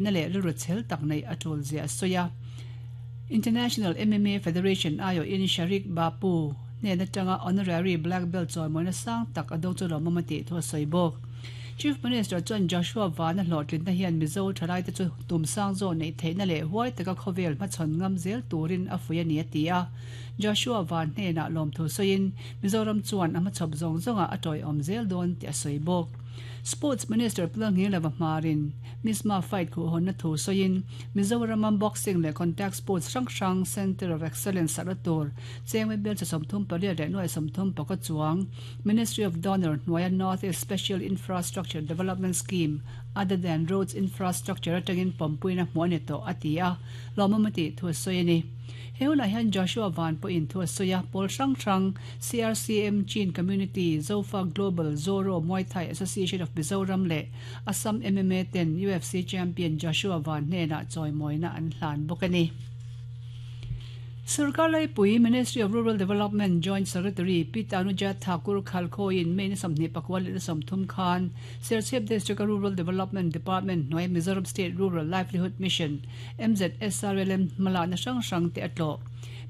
Na leh rilru chhel tak neih a tul zia a sawi a. International MMA Federation aiawhin Sharik Bapu hnen atanga honorary black belt chawimawina sang tak a do chu lawmawm a tih thu a sawi bawk. Chief Minister chuan Joshua Vana hlawhtlinna hian Mizo thalaite chu tum sang zawh neih theihna leh huai taka khawvel hmachhawn ngam zel turin a fuih a ni a ti a. Joshua Van hnenah lawmthu sawiin Mizoram chuan a hmachhawp zawng zawngah a tawiawm zel dawn tih a sawi bawk. Sports Minister Pulangilova hmarin Misma fight khuhhawnna thu sawiin Mizorama boxing leh contact sports hrang hrang Centre of Excellence sakna tur chengwe belcha 38 leh nuai 30 chuang Ministry of Donor hnuaia North East Special Infrastructure Development Scheme other than roads infrastructure atangin pawmpuina hmuh a ni tawh a ti a, lawmawm a tih thu a sawi a ni. He hunah hian Joshua Van pawhin thu a sawi a, pawl hrang hrang CRCM, Chin Community, Zofa Global, Zoro Muay Thai Association of Mizoram leh Assam MMA ten UFC champion Joshua Van hnenah chawimawina an hlan bawk a ni. Sorkar Laipui, Ministry of Rural Development Joint Secretary Pi Tanuja Thakur Khalkhawiin May ni 24 leh ni 30 khan Serchhip District-a Rural Development Department hnuai Mizoram State Rural Livelihood Mission, MZSRLM, hmalakna hrang hrang te a tlawh.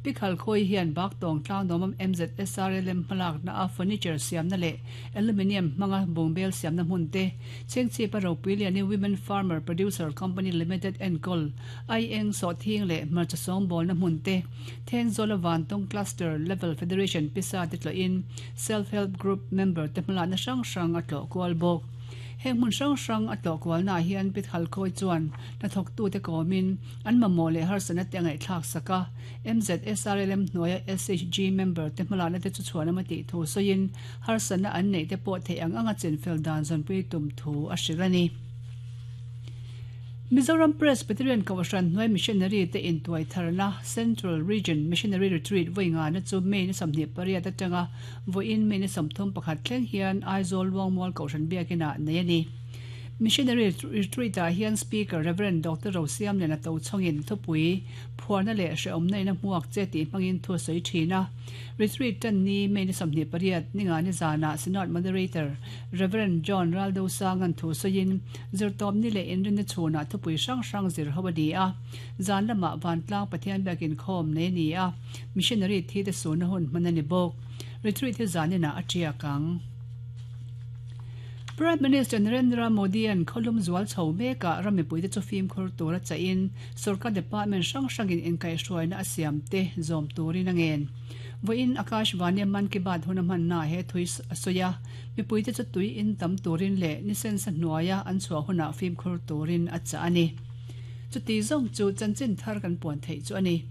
Pi Khalkhawi hian Baktawng tlangdawmam MZSRLM hmalakna a furniture siamna leh Aluminium hmanga bungbel siamna hmun te, Chengchhipa ropui lianin Women Farmer Producer Company Limited enkawl, Aieng, Sawhthing leh hmarcha sawngbawlna hmun te, Thenzawla Vantawng Cluster Level Federation pisa te tlawhin Self Help Group member te hmalakna hrang hrang a tlawh kual bawk. Heng hmun hrang hrang a tlawh kualnaah hian Pi Thalkhawi chuan hnathawktute kawmin an mamawh leh harsatna te a ngaihthlak sak a. MZSRLM hnuaia SHG member te hmalakna te chu chhuanawm a tih thu sawiin harsatna an neih te pawh theih ang anga chinfel dan zawnpui tum thu a hrilh a ni. Mizoram Presbyterian Kohhran hnuai Missionary te intuai tharna Central Region Missionary Retreat vawi ngana chu May ni 28 atanga vawiin May ni 31 thleng hian Aizawl Luangmual Kohhran Biakinah nei a ni. Missionary Retreat-ah hian Speaker Rev. Doctor Rosiamliana Tochhawngin thupui phuarna leh hrehawmna in a hmuak che tih hmangin thu a sawi thin a. Retreat tan ni May ni 28 ningani zanah Synod Moderator Rev. John Raldosanga'n thu sawiin zirtawpni leh inrinna chhunah thupui hrang hrang zir ho a ni a. Zan lamah Vantlang Pathian biakin khawm nei a ni a, Missionary thi te sunna hun hman a ni bawk. Retreat hi zaninah a tiak ang. Prime Minister Narendra Modi-a'n khawlum zual chho mekah ram mipuite chu fimkhur tura chahin sorkar department hrang hrangin inkaihhruaina a siam te zawm turin a ngen. Vawiin Akashvani-a Mann Ki Baat hun a hmannaah he thui a sawi a, mipuite chu tui in tam turin leh ni sensa hnuaia an chhuah hunah fimkhur turin a chah a ni. Chuti zawng chu chanchin thar kan puan theih chu a ni.